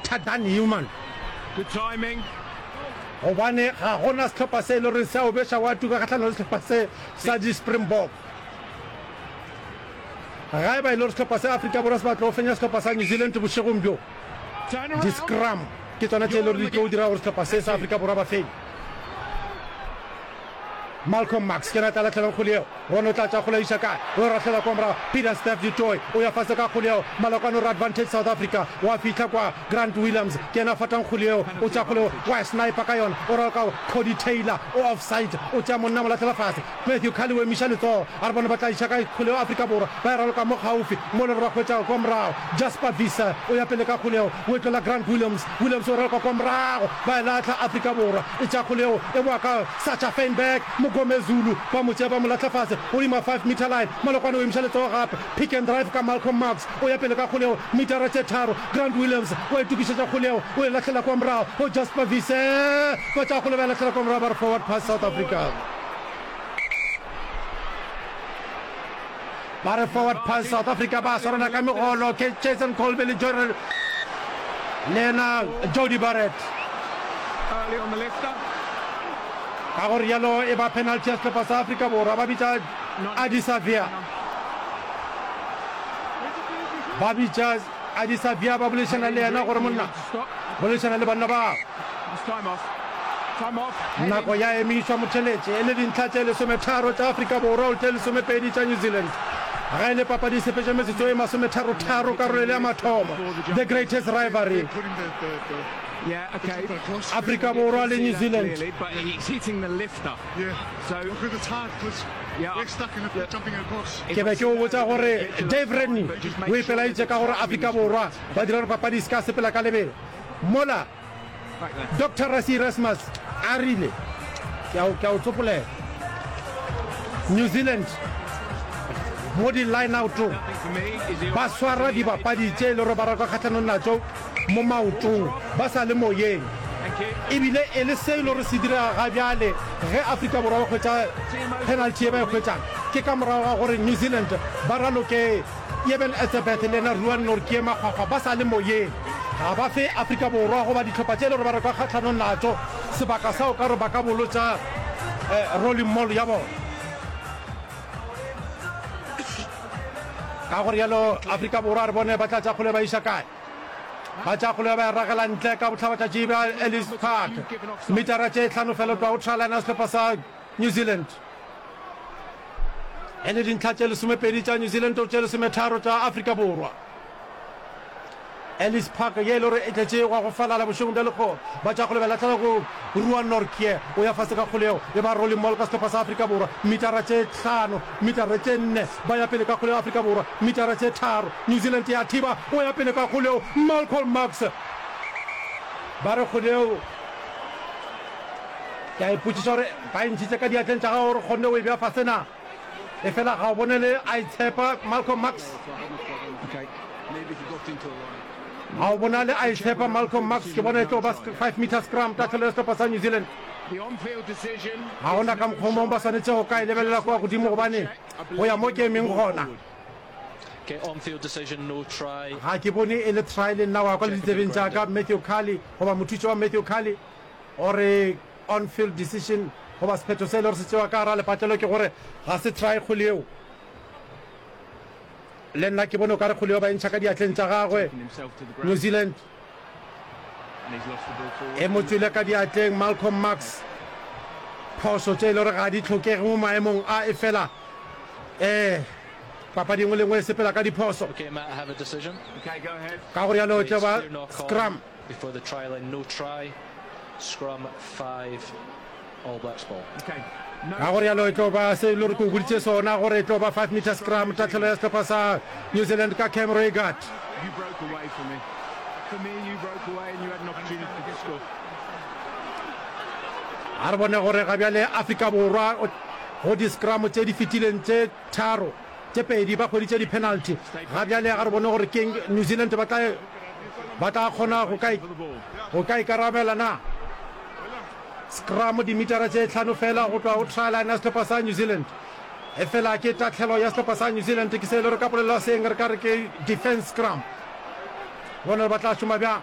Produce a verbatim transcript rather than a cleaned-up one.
better than human. Good timing. Gobane ga gona sehlopha se e le gore se a o beša wa tuka kgahlanong le sehlopha se sa di-Springbok. Ga e ba e le gore sehlopha se Afrika Borwa se batla go fenya sehlopha sa New Zealand bošegong bjo, di-scrum ke tsona tše e le gore di tlo dira gore sehlopha se sa Afrika Borwa ba fenye. Malcolm Marx ke yena a tla lahlelang kgole yeo. Ron o tla tša kgole a iša kae? O e rahlela kwa morago. Peter Steph du Toit o ya fase ka kgole yeo. Malokwane o re advantage South Africa. Wa fihla kwa. Grant Williams ke yena a fatang kgole yeo. O tša kgole yeo wa e sniper ka yona. O raloka Cody Taylor o offside. O tšea monna a mo lahlela fase. Matthew Cully o emiša letsogo. A re bone ba tla iša kae kgole yeo Afrika Borwa. Ba e raloka mo kgaufi mo le gore ba hwetša kwa morago. Jasper Wiese o ya pele ka kgole yeo. O e tlola Grant Williams. Williams o raloka kwa morago. Ba e lahla Afrika Borwa. E tša kgole yeo e boa ka Sacha Feinberg. Mngomezulu ba mo tšea ba mo lahla fase godimo ga five meter line. Malokwane o emiša letsogo gape. Pick and drive ka Malcolm Marx. O ya pele ka kgole yeo metara tše tharo. Grant Williams o a itokišetša kgole yeo o e lahlela kwa morago go Jasper Wiese. Ba tšea kgole ba e lahlela kwa morago ba re forward pass South Africa. Ba re forward pass South Africa ba swarana ka megolo ke Jason Colby le Jordan le yena Jody Barrett. Ka go rialo e ba penalty ya sehlopha sa Afrika Borwa ba bitša Adi Savia. Ba bitša Adi Savia ba boledišana le yena gore monna boledišana le banna ba. Nako ya emišwa motheletše e le dintlha tše lesometharo tša Afrika Borwa go tše lesomepedi tša New Zealand. Ge e le papadi e sepetše metsotso e masometharotharo karolo e le ya mathomo. The greatest rivalry. Afrika Borwa le New Zealand. Ke be ke o botša gore Dave Rennie o ipelaeditše ka gore Afrika Borwa ba dira gore papadi e se ka sepela ka lebelo mola Doctor Rassie Erasmus a rile, Ke a, ke a o tsopolela. New Zealand mo di-lineoutong ba swara dibapadi tše e le gore ba raka kgahlanong natšo mo maotong ba sa le moyeng. Ebile e le se e le gore se direga ga bjale ge Afrika Borwa ba hwetša penalty ye ba e hwetšang ke ka morago ga gore New Zealand ba raloke Eben Etzebeth le yena Ruan Nortje makgwakgwa ba sa le moyeng. Ga ba fe Afrika Borwa goba dihlopha tše e le gore ba reka kgahlanong natšo sebaka sa o ka re ba ka bolotša rolling maul ya bona. Ka go rialo Afrika Borwa re bone ba tla tša kgole ba iša kae. Ba tša kgole ba e ragela ntle ka bohlabatšatši bja Ellis Park. Metara tše hlano fela go tloga go try line ya sehlopha sa New Zealand. E le dintlha tše lesomepedi tša New Zealand go tše lesometharo tša Afrika Borwa. Ellis Park ye e le gore e tletše gwa go falala bošegong bja lekgowa. Ba tša kgole ba lahlela go Ruan Nortje, o ya fase ka kgole yeo e ba rolling maul ka sehlopha sa Afrika Borwa. Metara tše hlano, metara tše nne, ba ya pele ka kgole ya Afrika Borwa. Metara tše tharo, New Zealand ya thiba, o ya pele ka kgole yeo Malcolm Marx. Ba re kgole yeo Ke a ipotšiša gore ba e ntšhitše ka diatleng tša gago gore kgonne o e bea fase na? Efela ga o bonele a itshepa, Malcolm Marx. Ga o bonale a itshepa, Malcolm Marx. Ke bona e tlo ba five meter scrum, tahlelo ya sehlopha sa New Zealand. Ga gona ka mokgwa o mongwe ba swanetše go ka e lebelela kua godimo gobane go ya mo ke emeng gona. Ga ke bone e le try le nna wa kwa le ditsebeng tša ka, Matthew Cully goba mothuši wa Matthew Cully. Gore on field decision goba sephetho se e le gore se tšewa ka gara lepatlelo ke gore ga se try kgole yeo. Le nna ke bone o ka re kgole yeo ba e ntšha ka diatleng tša gagwe. New Zealand e mo tšwele ka diatleng Malcolm Marx. Phošo tše e le gore ga di hlokege mo maemong a e fela eh papadi engwe le engwe e sepela ka diphoso. Ka go rialo e tlo ba scrum. Before the try line, no try, scrum five, All Blacks ball. Ka go rialo e tlo ba se e le gore ke o boditše sona gore e tlo ba five meter scrum, tahlelo ya sehlopha sa New Zealand ka Cam Roigard. A re bone gore ga bjale Afrika Borwa go di-scrum tše di fetileng tše tharo, tše pedi ba hweditše di-penalty. Ga bjale ga re bone gore keng New Zealand ba tla ba tla kgona go ka go ka ikarabela na. Scrum dimitara tše hlano fela go tloga go try line ya sehlopha sa New Zealand. Efela ke tahlelo ya sehlopha sa New Zealand, ke se e le gore ka polelo ya seeng re ka re ke defense scrum. Bone gore ba tla šoma bjang.